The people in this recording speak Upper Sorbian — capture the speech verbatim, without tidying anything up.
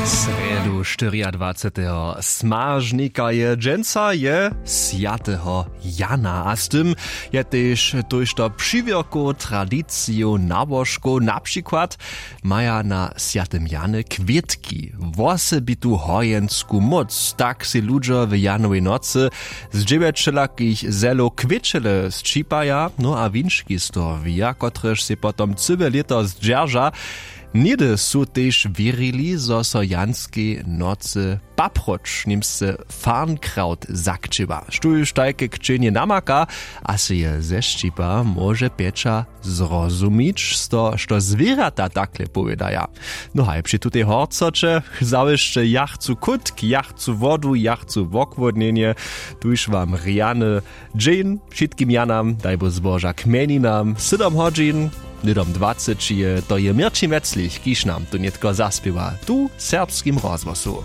Srjedu štyriadwaceteho smažnika je dźensa je swjateho jana a z tym je tež tójšto přiwěrkow tradicijow nałožkow na přikład maja na swjatym jany kwětki wosebitu hojensku móc tak sej ludźo w janowej nocy z dźewjeć wšelakich zelow kwěćele sćipaja no a winčki z toho wija kotrež sej potom cyłe lěto zdźerža. Něhdy su tež wěrili zo so janskej nocy paproč nimsce farnkraut zakćěła štóž tajke kćenje namaka a sej je zešćipa móže pjeća zrozumić z toho što zwěrjata takle powědaja. No haj při tutej horcoće zawěsće ja chcu kutk ja chcu wodu ja chcu wochłódnjenje. Tuž wam rjany dźeń wšitkim janam daj bóh zboža k mjeninam sydom hodźin. Hnydom dwaceći je to je měrćin wjeclich kiž nam tu nětko zaspěwa tu w serbskim rozhłosu.